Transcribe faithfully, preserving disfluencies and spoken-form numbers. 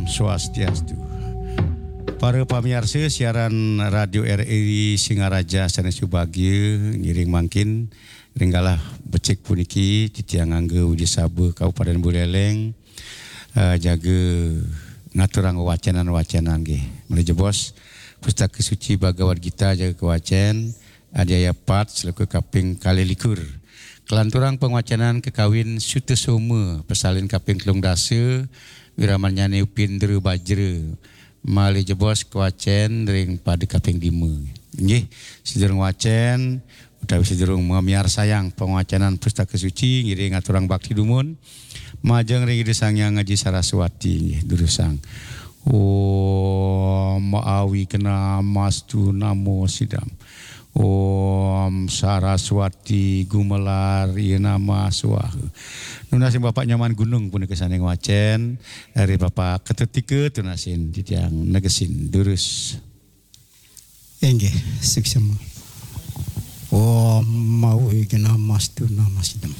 Swastiastu. Para pamiarsa siaran Radio R R I Singaraja sané subagia, ngiring mangkin ring galah becik puniki titiang ngangge Widya Sabha Kabupaten Buleleng, eh, jaga ngaturang wacanan-wacanan nggih. Malih jebos Pustaka Suci Bhagavad Gita jaga kawacén, Adhyaya pat, sloka kaping kalih likur. Kalanturang pangwacanan kakawin Sutasoma, pasalin kaping telung dasa, wiramannyané Upindra Bajra. Malih jebos kawacén ring pada kaping lima. Nggih, sadurung wacén utawi sadurung mamiarsayang pangwacanan Pustaka Suci, ngiring ngaturang bakti dumun majeng ring Ida Sang Hyang Aji Saraswati, nggih, durusang. Om Awignamastu Namo Sidam. Om Saraswati Gumelar Nama Swaha. Nunas ring Bapak Nyoman Gunung punika sané ngwacén, ring Bapak Ketut Tika tunasin titiang negesin durus. Inggih, suksma. Om Awignamastu Namo Sidam.